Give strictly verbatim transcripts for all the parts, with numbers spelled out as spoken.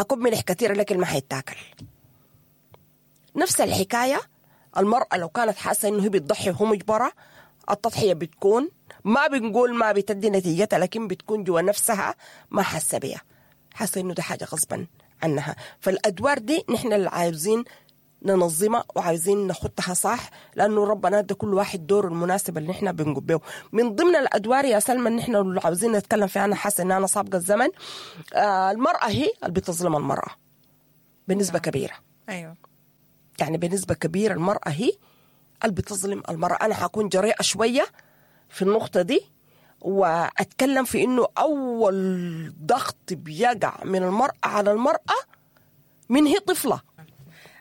حكب ملح كتير لكن ما حيتاكل. نفس الحكاية المرأة لو كانت حاسة إنه هي بتضحي وهو مجبرة، التضحية بتكون ما بنقول ما بتدي نتيجتها، لكن بتكون جوا نفسها ما حاسة بيها، حاسة إنه ده حاجة غصبا عنها. فالأدوار دي نحن اللي عاوزين ننظمها وعايزين نخطها صح، لأنه ربنا ادى كل واحد دوره المناسب اللي نحن بنقوم به. من ضمن الأدوار يا سلمى اللي نحن اللي عاوزين نتكلم فيها، أنا حاسة إن أنا سابقة الزمن، آه المرأة هي اللي بتظلم المرأة بنسبة كبيرة. أيوة. يعني بنسبة كبيرة المرأة هي اللي بتظلم المرأة. أنا حكون جريئة شوية في النقطة دي وأتكلم في إنه أول ضغط بيقع من المرأة على المرأة من هي طفلة.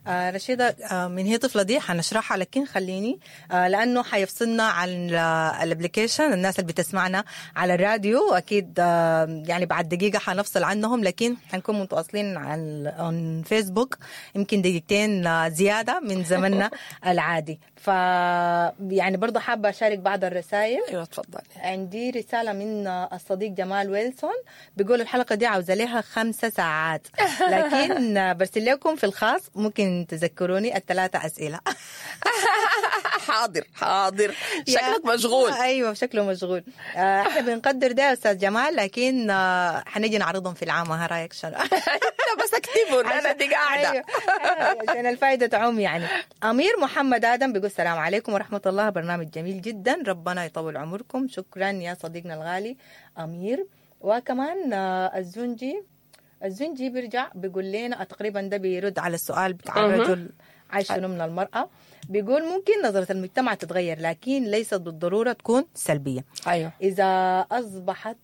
آه رشيدة، آه من هي طفلة دي حنشرحها، لكن خليني آه لأنه حيفصلنا عن ال application، الناس اللي بتسمعنا على الراديو أكيد آه يعني بعد دقيقة حنفصل عنهم، لكن حنكون متواصلين على فيسبوك يمكن دقيقتين آه زيادة من زمننا العادي. ف يعني برضه حابة أشارك بعض الرسائل. أيوة تفضل. عندي رسالة من الصديق جمال ويلسون بيقول الحلقة دي عاوزة لها خمسة ساعات، لكن برسل لكم في الخاص ممكن تذكروني الثلاثة أسئلة. حاضر حاضر، شكلك مشغول. أيوة شكله مشغول. احنا بنقدر ده يا أستاذ جمال، لكن حنيجي نعرضهم في العام. ها رأيك شنو؟ بس اكتبوا أنا دي قاعدة. أيوة. عشان الفائدة تعوم يعني. أمير محمد آدم بيقول السلام عليكم ورحمة الله، برنامج جميل جدا، ربنا يطول عمركم. شكرا يا صديقنا الغالي أمير. وكمان الزنجي الزنجي بيرجع بيقول لنا تقريبا ده بيرد على السؤال بتاع الرجل عايش شنو من المرأة، بيقول ممكن نظرة المجتمع تتغير لكن ليست بالضرورة تكون سلبية. أيوة. إذا أصبحت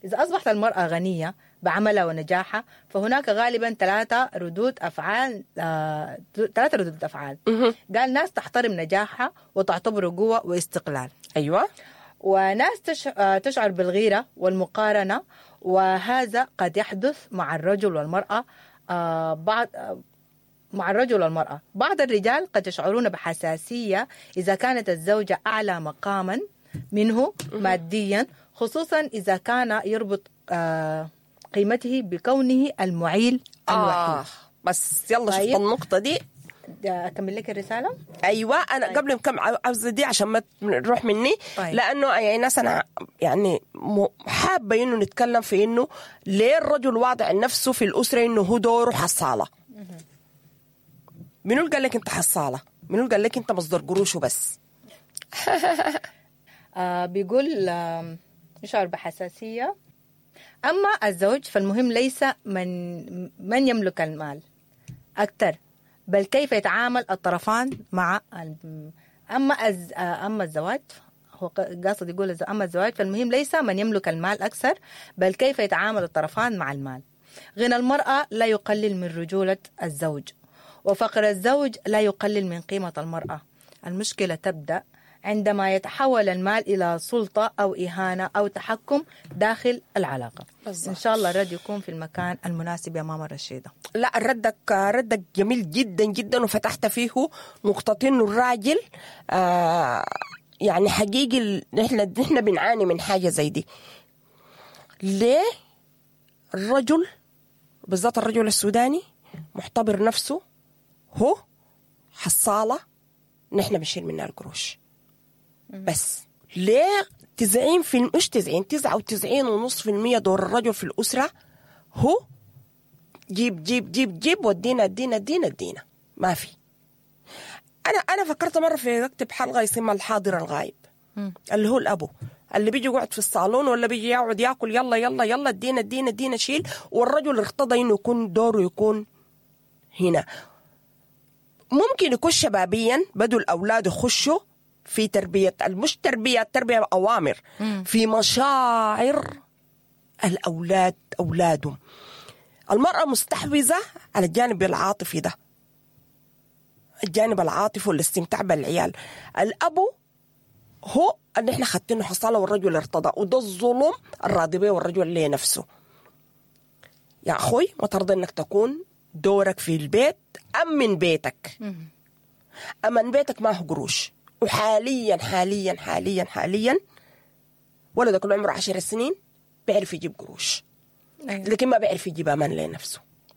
إذا أصبحت المرأة غنية بعملها ونجاحها فهناك غالبا ثلاثة ردود أفعال آه، ثلاثة ردود أفعال. قال ناس تحترم نجاحها وتعتبره قوة واستقلال. أيوة. وناس تشعر بالغيرة والمقارنة، وهذا قد يحدث مع الرجل والمرأة. آه بعض آه مع الرجل والمرأة بعض الرجال قد يشعرون بحساسية إذا كانت الزوجة أعلى مقاما منه ماديا، خصوصا إذا كان يربط آه قيمته بكونه المعيل الوحيد. آه بس يلا. طيب. شفت النقطة دي؟ أكمل لك الرسالة؟ أيوة أنا. طيب. قبل كم عاوزة دي عشان ما تروح مني. طيب. لأنه يعني ناس أنا يعني حابة إنه نتكلم في إنه ليه الرجل واضع نفسه في الأسرة إنه هو دوره حصالة. منو اللي قال لك أنت حصالة؟ منو اللي قال لك أنت مصدر قروشه بس؟ آه بيقول آه يشعر بحساسية. أما الزوج فالمهم ليس من من يملك المال أكثر، بل كيف يتعامل الطرفان مع أما أز... أما الزواج، هو قاصد يقول أما الزواج فالمهم ليس من يملك المال أكثر، بل كيف يتعامل الطرفان مع المال. غنى المرأة لا يقلل من رجولة الزوج، وفقر الزوج لا يقلل من قيمة المرأة. المشكلة تبدأ عندما يتحول المال إلى سلطة أو إهانة أو تحكم داخل العلاقة. بالزبط. إن شاء الله الرد يكون في المكان المناسب يا ماما رشيدة. لا ردك ردك جميل جدا جدا، وفتحت فيه نقطتين. الراجل آه يعني حقيقي نحن نحن بنعاني من حاجة زي دي. ليه الرجل بالذات الرجل السوداني معتبر نفسه هو حصالة نحن بنشيل منها القروش بس؟ ليه تسعين في مش تسعين تسعة وتسعين ونص في المية دور الرجل في الأسرة هو جيب جيب جيب جيب ودينا ادينا ادينا ادينا ما في. أنا أنا فكرت مرة في أكتب حلقة يسمى الحاضر الغايب، اللي هو الأبو اللي بيجي يقعد في الصالون ولا بيجي يقعد ياكل يلا يلا يلا ادينا ادينا ادينا شيل، والرجل ارتضى إنه يكون دوره يكون هنا. ممكن يكون شبابيا بدوا الأولاد يخشوا في تربية، مش تربية تربية أوامر، في مشاعر الأولاد أولادهم. المرأة مستحوذة على الجانب العاطفي ده، الجانب العاطفي والاستمتاع بالعيال. الأبو هو اللي احنا خدتينه حصالة والرجل ارتضى، وده الظلم الراضي به والرجل اللي نفسه. يا أخوي ما ترضى إنك تكون دورك في البيت أمن بيتك، أمن بيتك ما هو قروش. وحاليا حاليا حاليا حاليا ولدك اللي عمره عشر سنين بيعرف يجيب قروش. أيوة. لكن ما بيعرف يجيب أمان لنفسه.